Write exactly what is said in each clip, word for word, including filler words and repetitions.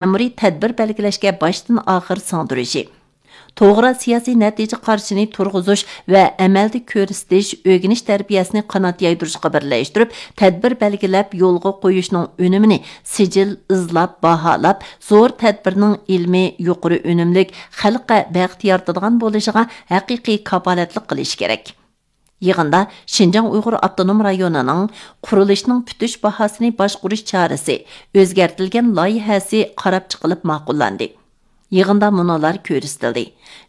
مەمۇرىي تەدبىر بەلگىلەشكە باشتىن ئاخىر سىڭدۈرۈشى، توغرا سىياسىي نەتىجە قارىشىنى تۇرغۇزۇش ۋە ئەمەلدە كۆرسىتىش، ئۆگىنىش تەربىيەسىنى قانات يايدۇرۇشقا بىرلەشتۈرۈپ، تەدبىر بەلگىلەپ يولغا قويۇشنىڭ ئۈنۈمىنى سىجىل، ئىزلاپ، باھالاپ، زور تەدبىرنىڭ ئىلمىي، يۇقىرى ئۈنۈملۈك، خەلققە بەخت يارىتىدىغان بولۇشىغا ھەقىقىي كاپالەتلىك قىلىش كېرەك. يىغىندا شىنجاڭ ئۇيغۇر ئاپتونوم رايونىنىڭ قۇرۇلۇشنىڭ پۈتۈش باھاسىنى باشقۇرۇش چارىسى ئۆزگەرتىلگەن لايىھەسى قاراپ چىقىلىپ ماقۇللاندى. يىغىندا مۇنۇلار كۆرسىتىلدى: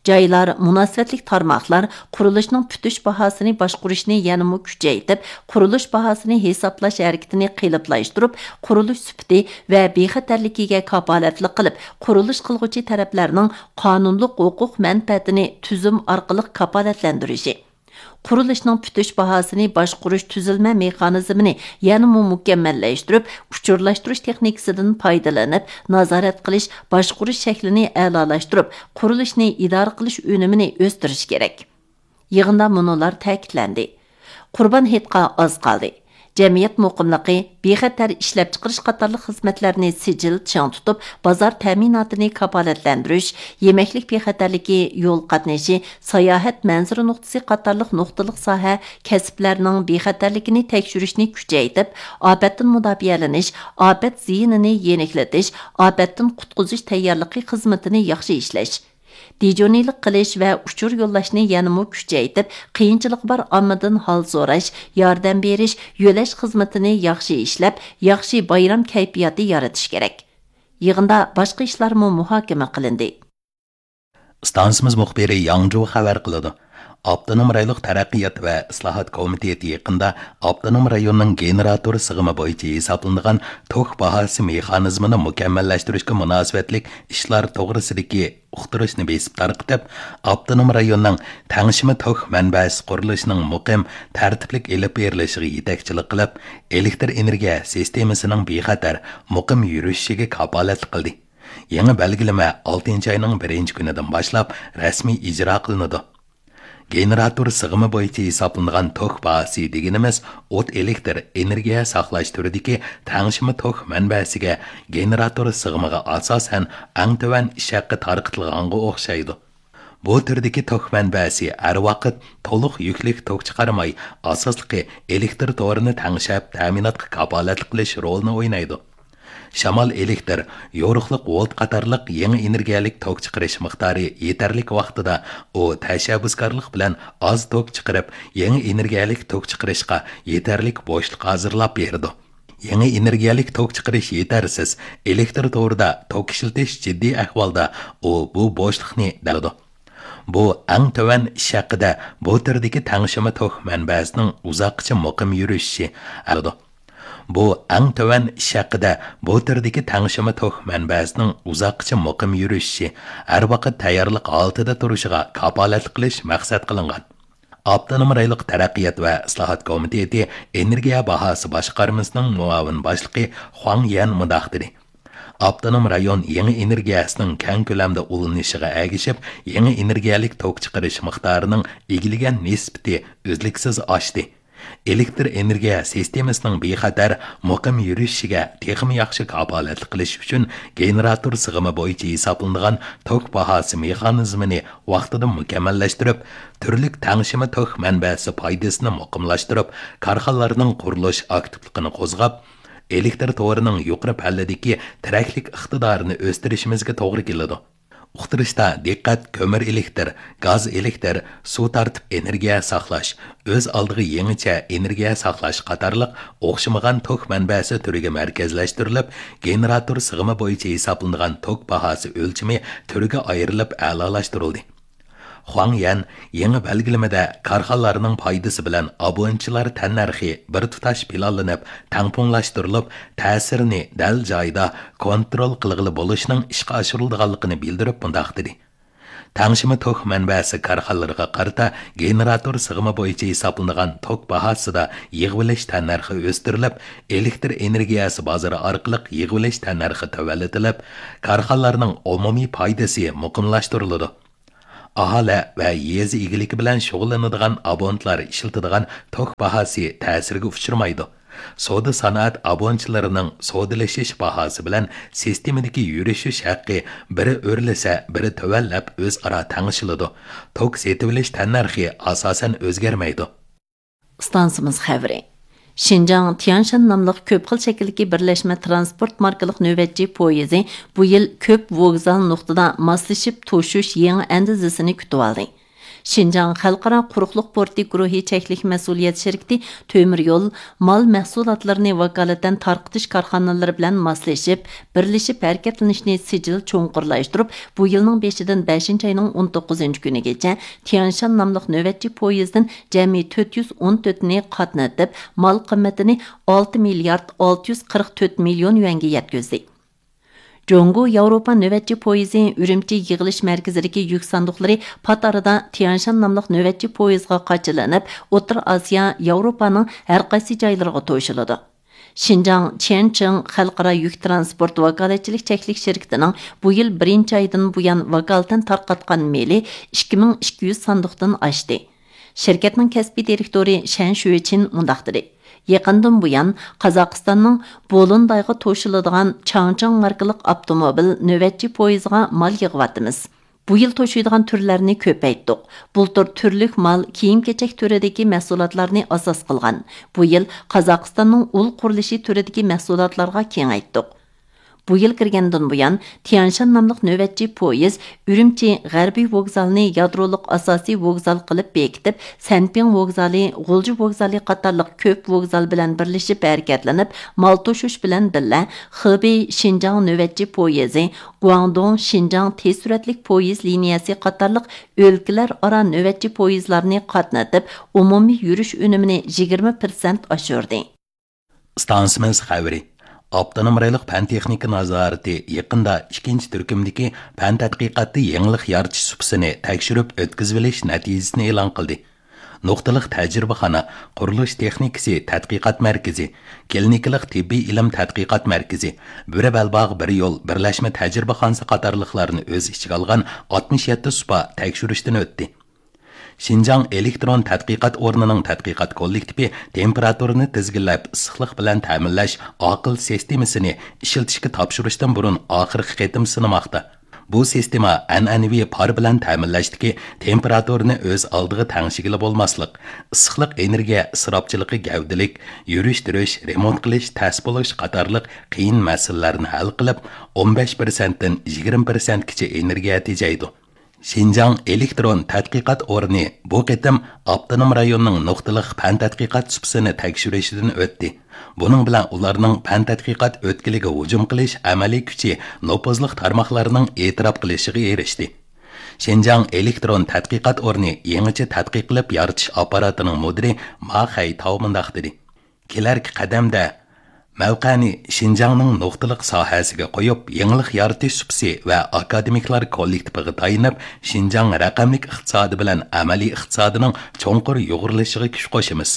جايلار، مۇناسىۋەتلىك تارماقلار قۇرۇلۇشنىڭ پۈتۈش باھاسىنى باشقۇرۇشنى يەنىمۇ كۈچەيتىپ، قۇرۇلۇش باھاسىنى ھېسابلاش ھەرىكىتىنى قېلىپلاشتۇرۇپ، قۇرۇلۇش سۈپىتى ۋە بىخەتەرلىكىگە كاپالەتلىك قىلىپ، قۇرۇلۇش قىلغۇچى تەرەپلەرنىڭ قانۇنلۇق ھوقۇق مەنپەئەتىنى تۈزۈم ئارقىلىق كاپالەتلەندۈرۈشى، قۇرۇلۇشنىڭ پۈتۈش باھاسىنى باشقۇرۇش تۈزۈلمە مېخانىزمىنى يەنىمۇ مۇكەممەللەشتۈرۈپ، ئۇچۇرلاشتۇرۇش تېخنىكىسىدىن پايدىلىنىپ، نازارەت قىلىش، باشقۇرۇش شەكلىنى ئەلالاشتۇرۇپ، قۇرۇلۇشنى ئىدارە قىلىش ئۈنۈمىنى ئۆستۈرۈش كېرەك. يىغىندا مۇنۇلار تەكىتلەندى: قۇربان ھېيتقا ئاز قالدى. جەمئىيەت مۇقىملىقى، بىخەتەر ئىشلەپچىقىرىش قاتارلىق خىزمەتلەرنى سىجىل چىڭ تۇتۇپ، بازار تەمىناتىنى كاپالەتلەندۈرۈش، يېمەكلىك بىخەتەرلىكى، يول قاتنىشى، ساياھەت مەنزىرە نۇقتىسى قاتارلىق نۇقتىلىق ساھە، كەسىپلەرنىڭ بىخەتەرلىكىنى تەكشۈرۈشنى كۈچەيتىپ، ئاپەتتىن مۇداپىئەلىنىش، ئاپەت زىيىنىنى يېنىكلىتىش، ئاپەتتىن قۇتقۇزۇش تەييارلىقى خىزمىتىنى ياخشى ئىشلەش، دىجورنىيلىق قىلىش ۋە ئۇچۇر يوللاشنى يەنىمۇ كۈچەيتىپ، قىيىنچىلىقى بار ئاممىدىن ھال سوراش، ياردەم بېرىش، يۆلەش خىزمىتىنى ياخشى ئىشلەپ، ياخشى بايرام كەيپىياتى يارىتىش كېرەك. يىغىندا باشقا ئىشلارمۇ مۇھاكىمە قىلىندى. ئىستانسىمىز مۇخبىرى ياڭجۇ خەۋەر قىلىدۇ. ئاپتونوم رايونلۇق تەرەققىيات ۋە ئىسلاھات كومىتېتى يېقىندا ئاپتونوم رايوننىڭ گېنېراتور سىغىمى بويىچە ھېسابلىنىدىغان توك باھاسى مېخانىزمىنى مۇكەممەللەشتۈرۈشكە مۇناسىۋەتلىك ئىشلار توغرىسىدىكى ئۇقتۇرۇشنى بېسىپ تارقىتىپ، ئاپتونوم رايوننىڭ تەڭشىمە توك مەنبەسى قۇرۇلۇشىنىڭ مۇقىم، تەرتىپلىك ئېلىپ بېرىلىشىغا يېتەكچىلىك قىلىپ، ئېلېكتر ئېنېرگىيە سىستېمىسىنىڭ بىخەتەر، مۇقىم يۈرۈشۈشىگە كاپالەتلىك قىلدى. يېڭى بەلگىلىمە ئالتىنچى ئاينىڭ بىرىنچى كۈنىدىن باشلاپ رەسمىي ئىجرا قىلىنىدۇ. گېنېراتور سىغىمى بويىچە ھېسابلىنىدىغان توك باھاسى دېگىنىمىز ئوت ئېلېكتر ئېنېرگىيە ساقلاش تۈرىدىكى تەڭشىمە توك مەنبەسىگە گېنېراتور سىغىمىغا ئاساسەن ئەڭ تۆۋەن ئىش ھەققى تارقىتىلغانغا ئوخشايدۇ. بۇ تۈردىكى توك مەنبەسى ھەر ۋاقىت تولۇق يۈكلۈك توك چىقارماي، ئاساسلىقى ئېلېكتر تورىنى تەڭشەپ، تەمىناتقا كاپالەتلىك قىلىش رولىنى ئوينايدۇ. شامال ئېلېكتر، يورۇقلۇق ۋولت قاتارلىق يېڭى ئېنېرگىيەلىك توك چىقىرىش مىقدارى يېتەرلىك ۋاقتىدا ئۇ تەشەببۇسكارلىق بىلەن ئاز توك چىقىرىپ، يېڭى ئېنېرگىيەلىك توك چىقىرىشقا يېتەرلىك بوشلۇق ھازىرلاپ بېرىدۇ. يېڭى ئېنېرگىيەلىك توك چىقىرىش يېتەرسىز، ئېلېكتر تورىدا توك ئىشلىتىش جىددىي ئەھۋالدا ئۇ بۇ بوشلۇقنى دەلدۇ. بۇ ئەڭ تۆۋەن ئىش ھەققىدە بۇ تۈردىكى تەڭشىمە توك مەنبەسىنىڭ ئۇزاققىچە مۇقىم يۈرۈشۈشى ھەققىدە. بۇ ئەڭ تۆۋەن ئىش ھەققىدە بۇ تۈردىكى تەڭشىمە توك مەنبەسىنىڭ ئۇزاققىچە مۇقىم يۈرۈشۈشى، ھەر ۋاقىت تەييارلىق ھالىتىدە تۇرۇشىغا كاپالەتلىك قىلىش مەقسەت قىلىنغان. ئاپتونوم رايونلۇق تەرەققىيات ۋە ئىسلاھات كومىتېتى ئېنېرگىيە باھاسى باشقارمىسىنىڭ مۇئاۋىن باشلىقى خۇاڭ يەن مۇنداق دېدى: ئاپتونوم رايون يېڭى ئېنېرگىيەسىنىڭ كەڭ كۆلەمدە ئۇلىنىشىغا ئەگىشىپ، يېڭى ئېنېرگىيەلىك توك چىقىرىش مىقدارىنىڭ ئىگىلىگەن نىسبىتى ئۈزلۈكسىز ئاشتى. ئېلېكتر ئېنېرگىيە سىستېمىسىنىڭ بىخەتەر، مۇقىم يۈرۈشۈشىگە تېخىمۇ ياخشى كاپالەتلىك قىلىش ئۈچۈن، گېنېراتور سىغىمى بويىچە ھېسابلىنىدىغان توك باھاسى مېخانىزمىنى ۋاقتىدا مۇكەممەللەشتۈرۈپ، تۈرلۈك تەڭشىمە توك مەنبەسى پايدىسىنى مۇقىملاشتۇرۇپ، كارخانىلارنىڭ قۇرۇلۇش ئاكتىپلىقىنى قوزغاپ، ئېلېكتر تورىنىڭ يۇقىرى پەللىدىكى تىرەكلىك ئىقتىدارىنى ئۆستۈرۈشىمىزگە توغرا كېلىدۇ. ئۇقتۇرۇشتا دىققەت كۆمۈر ئېلېكتىر، گاز ئېلېكتىر، سۇ تارتىپ ئېنېرگىيە ساقلاش، ئۆز ئالدىغا يېڭىچە ئېنېرگىيە ساقلاش قاتارلىق ئوخشىمىغان توك مەنبەسى تۈرىگە مەركەزلەشتۈرۈلۈپ، گېنېراتور سىغىمى بويىچە ھېسابلىنىدىغان توك باھاسى ئۆلچىمى تۈرگە ئايرىلىپ ئەلالاشتۇرۇلدى. خۇاڭ يەن يېڭى بەلگىلىمىدە كارخانىلارنىڭ پايدىسى بىلەن ئابونېنتچىلار تەننەرخى بىر تۇتاش پىلانلىنىپ، تەڭپۇڭلاشتۇرۇلۇپ، تەسىرىنى دەل جايىدا كونترول قىلغىلى بولۇشنىڭ ئىشقا ئاشۇرۇلىدىغانلىقىنى بىلدۈرۈپ مۇنداق دېدى: تەڭشىمە توك مەنبەسى كارخانىلىرىغا قارىتا گېنېراتور سىغىمى بويىچە ھېسابلىنىدىغان توك باھاسىدا يىغىۋېلىش تەننەرخى ئۆستۈرۈلۈپ، ئېلېكتر ئېنېرگىيەسى بازىرى ئارقىلىق يىغىۋېلىش تەننەرخى تۆۋەنلىتىلىپ، كارخانىلارنىڭ ئومۇمىي پايدىسى مۇقىملاشتۇرۇلىدۇ. ئاھالە ۋە يېزا ئىگىلىكى بىلەن شۇغۇللىنىدىغان ئابونېنتلار ئىشلىتىدىغان توك باھاسى تەسىرگە ئۇچرىمايدۇ. سودا سانائەت ئابۇنىچىلىرىنىڭ سودىلىشىش باھاسى بىلەن سىستېمىدىكى يۈرۈشۈش ھەققى بىرى ئۆرلىسە، بىرى تۆۋەنلەپ ئۆزئارا تەڭشىلىدۇ. توك سېتىۋېلىش تەننەرخى ئاساسەن ئۆزگەرمەيدۇ. ئىستانسىمىز خەۋىرى. شىنجاڭ تيانشان ناملىق كۆپ خىل شەكىلدىكى بىرلەشمە ترانسپورت ماركىلىق نۆۋەتچى پويىزى بۇ يىل كۆپ ۋوگزال نۇقتىدا ماسلىشىپ توشۇش يېڭى ئەندىزىسىنى كۈتۈۋالدى. شىنجاڭ خەلقئارا قۇرۇقلۇق پورتى گۇرۇھى چەكلىك مەسئۇلىيەت شىركىتى تۆمۈر يول مال مەھسۇلاتلىرىنى ۋاكالىتەن تارقىتىش كارخانىلىرى بىلەن ماسلىشىپ، بىرلىشىپ ھەرىكەتلىنىشنى سىجىل چوڭقۇرلاشتۇرۇپ، بۇ يىلنىڭ بېشىدىن بەشىنچى ئاينىڭ ئون توققۇزىنچى كۈنىگىچە تيانشان ناملىق نۆۋەتچى پويىزدىن جەمئىي تۆت يۈز ئون تۆتىنى قاتنىتىپ، مال قىممىتىنى ئالتە مىليارد ئالتە يۈز قىرىق تۆت مىليون يۈەنگە يەتكۈزدى. جۇڭگو ياۋروپا نۆۋەتچى پويىزى ئۈرۈمچى يىغىلىش مەركىزىدىكى يۈك ساندۇقلىرى پات ئارىدا تيانشان ناملىق نۆۋەتچى پويىزغا قاچىلىنىپ، ئوتتۇرا ئاسىيا، ياۋروپانىڭ ھەر قايسى جايلىرىغا توشۇلىدۇ. شىنجاڭ چيەنچىڭ خەلقئارا يۈك ترانسپورت ۋاكالەتچىلىك چەكلىك شىركىتىنىڭ بۇ يىل بىرىنچى ئايدىن بۇيان ۋاكالىتەن تارقاتقان مېلى ئىككى مىڭ ئىككى يۈز ساندۇقتىن ئاشتى. شىركەتنىڭ كەسپىي دىرېكتورى شەن شۈچىن مۇنداق دېدى: يېقىندىن بۇيان، قازاقىستاننىڭ بولۇندايغا توشۇلىدىغان چاڭچىڭ ماركىلىق ئاپتوموبىل نۆۋەتچى پويىزىغا مال يىغىۋاتىمىز. بۇ يىل توشۇيدىغان تۈرلەرنى كۆپەيتتۇق. بۇلتۇر تۈرلۈك مال كىيىم-كېچەك تۈرىدىكى مەھسۇلاتلارنى ئاساس قىلغان. بۇ يىل قازاقىستاننىڭ ئۇل قۇرۇلۇشى تۈرىدىكى مەھسۇلاتلارغا كېڭەيتتۇق. بۇ يىل كىرگەندىن بۇيان، تيانشان ناملىق نۆۋەتچى پويىز ئۈرۈمچى غەربىي ۋوگزالىنى يادرولۇق ئاساسىي ۋوگزال قىلىپ بېكىتىپ، سەنپىڭ ۋوگزالى، غۇلجا ۋوگزالى قاتارلىق كۆپ ۋوگزال بىلەن بىرلىشىپ ھەرىكەتلىنىپ، مال توشۇش بىلەن بىللە، خېبېي شىنجاڭ نۆۋەتچى پويىزى، گۇاڭدۇڭ شىنجاڭ تېز سۈرئەتلىك پويىز لىنىيەسى قاتارلىق ئۆلكىلەر ئارا نۆۋەتچى پويىزلارنى قاتنىتىپ، ئومۇمىي يۈرۈش ئۈنۈمىنى يىگىرمە پىرسەنت ئاشۇردى. ئىستانسىمىز خەۋىرى. ئاپتونوم رايونلۇق پەن تېخنىكا نازارىتى يېقىندا ئىككىنچى تۈركۈمدىكى پەن تەتقىقاتتا يېڭىلىق يارىتىش سۇپىسىنى تەكشۈرۈپ ئۆتكۈزۈۋېلىش نەتىجىسىنى ئېلان قىلدى. نۇقتىلىق تەجرىبىخانا، قۇرۇلۇش تېخنىكىسى تەتقىقات مەركىزى، كلىنىكىلىق تېببىي ئىلىم تەتقىقات مەركىزى، بۈرە بەلباغ بىر يول بىرلەشمە تەجرىبىخانىسى قاتارلىقلارنى ئۆز ئىچىگە ئالغان ئاتمىش يەتتە سۇپا تەكشۈرۈشتىن ئۆتتى. شىنجاڭ ئېلېكترون تەتقىقات ئورنىنىڭ تەتقىقات كوللېكتىپى تېمپېراتۇرىنى تىزگىنلەپ ئىسسىقلىق بىلەن تەمىنلەش ئاقىل سىستېمىسىنى ئىشلىتىشكە تاپشۇرۇشتىن بۇرۇن ئاخىرقى قېتىم سىنىماقتا. بۇ سىستېما ئەنئەنىۋى پار بىلەن تەمىنلەشتىكى تېمپېراتۇرىنى ئۆز ئالدىغا تەڭشىگىلى بولماسلىق، ئىسسىقلىق ئېنېرگىيە ئىسراپچىلىقى گەۋدىلىك، يۈرۈشتۈرۈش، رېمونت قىلىش تەس بولۇش قاتارلىق قىيىن مەسىلىلەرنى ھەل قىلىپ، ئون بەش پىرسەنتتىن يىگىرمە پىرسەنتكىچە ئېنېرگىيە تېجەيدۇ. شىنجاڭ ئېلېكترون تەتقىقات ئورنى بۇ قېتىم ئاپتونوم رايوننىڭ نۇقتىلىق پەن تەتقىقات سۇپىسىنى تەكشۈرۈشىدىن ئۆتتى. بۇنىڭ بىلەن ئۇلارنىڭ پەن تەتقىقات ئۆتكىلىگە ھۇجۇم قىلىش ئەمەلىي كۈچى نوپۇزلۇق تارماقلارنىڭ ئېتىراپ قىلىشىغا ئېرىشتى. شىنجاڭ ئېلېكترون تەتقىقات ئورنى يېڭىچە تەتقىق قىلىپ يارىتىش ئاپپاراتىنىڭ مۇدىرى ما خەيتاۋ مۇنداق دېدى: كېلەركى قەدەمدە مەۋقەنى شىنجاڭنىڭ نۇقتىلىق ساھەسىگە قويۇپ، يېڭىلىق يارىتىش سۇپىسى ۋە ئاكادېمىكلار كوللېكتىپىغا تايىنىپ، شىنجاڭ رەقەملىك ئىقتىسادى بىلەن ئەمەلىي ئىقتىسادىنىڭ چوڭقۇر يۇغۇرۇلۇشىغا كۈچ قوشىمىز.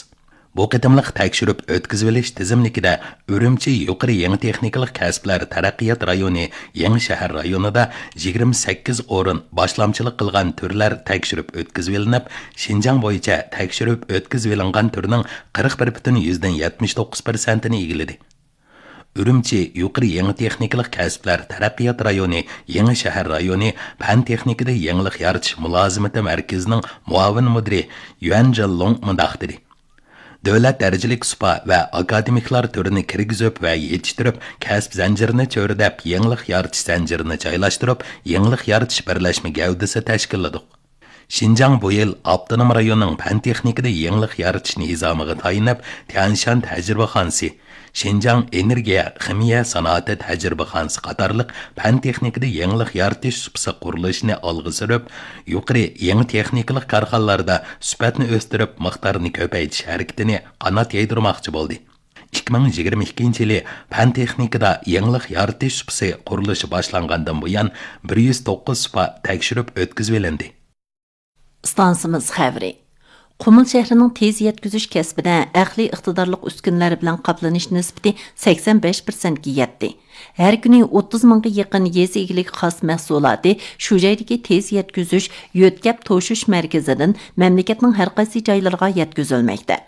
بۇ قېتىملىق تەكشۈرۈپ ئۆتكۈزۈۋېلىش تىزىملىكىدە ئۈرۈمچى يۇقىرى يېڭى تېخنىكىلىق كەسىپلەر تەرەققىيات رايونى يېڭى شەھەر رايونىدا يىگىرمە سەككىز ئورۇن، باشلامچىلىق قىلغان تۈرلەر تەكشۈرۈپ ئۆتكۈزۈۋېلىنىپ، شىنجاڭ بويىچە تەكشۈرۈپ ئۆتكۈزۈۋېلىنغان تۈرنىڭ قىرىق بىر پۈتۈن يۈزدىن يەتمىش توققۇز پىرسەنتىنى ئىگىلىدى. ئۈرۈمچى يۇقىرى يېڭى تېخنىكىلىق كەسىپلەر تەرەققىيات رايونى يېڭى شەھەر رايونى پەن تېخنىكىدا يېڭىلىق يارىتىش مۇلازىمىتى مەركىزىنىڭ مۇئاۋىن مۇدىرى يۈەن جىنلۇڭ مۇنداق دېدى: دۆلەت دەرىجىلىك سۇپا ۋە ئاكادېمىكلار تۈرىنى كىرگۈزۈپ ۋە يېتىشتۈرۈپ، كەسىپ زەنجىرىنى چۆرىدەپ، يېڭىلىق يارىتىش زەنجىرىنى جايلاشتۇرۇپ، يېڭىلىق يارىتىش بىرلەشمە گەۋدىسى تەشكىللىدۇق. شىنجاڭ بۇ يىل ئاپتونوم رايوننىڭ پەن تېخنىكىدا يېڭىلىق يارىتىش نىزامىغا تايىنىپ، تيەنشان تەجرىبىخانىسى، شىنجاڭ ئېنېرگىيە خىمىيە سانائىتى تەجرىبىخانىسى قاتارلىق پەن تېخنىكىدا يېڭىلىق يارىتىش سۇپىسى قۇرۇلۇشىنى ئالغا سۈرۈپ، يۇقىرى يېڭى تېخنىكىلىق كارخانىلاردا سۈپەتنى ئۆستۈرۈپ، مىقدارنى كۆپەيتىش ھەرىكىتىنى قانات يايدۇرماقچى بولدى. ئىككى مىڭ يىگىرمە ئىككىنچى يىلى پەن تېخنىكىدا يېڭىلىق يارىتىش سۇپىسى قۇرۇلۇشى باشلانغاندىن بۇيان، بىر يۈز توققۇز سۇپا تەكشۈرۈپ ئۆتكۈزۈۋېلىندى. ئىستانسىمىز خەۋىرى. قۇمۇل شەھىرىنىڭ تېز يەتكۈزۈش كەسپىدە ئەقلىي ئىقتىدارلىق ئۈسكۈنىلەر بىلەن قاپلىنىش نىسبىتى سەكسەن بەش پىرسەنتكە يەتتى. ھەر كۈنى ئوتتۇز مىڭغا يېقىن يېزا ئىگىلىكى خاس مەھسۇلاتى شۇ جايدىكى تېز يەتكۈزۈش يۆتكەپ توشۇش مەركىزىدىن مەملىكەتنىڭ ھەر قايسى جايلىرىغا يەتكۈزۈلمەكتە.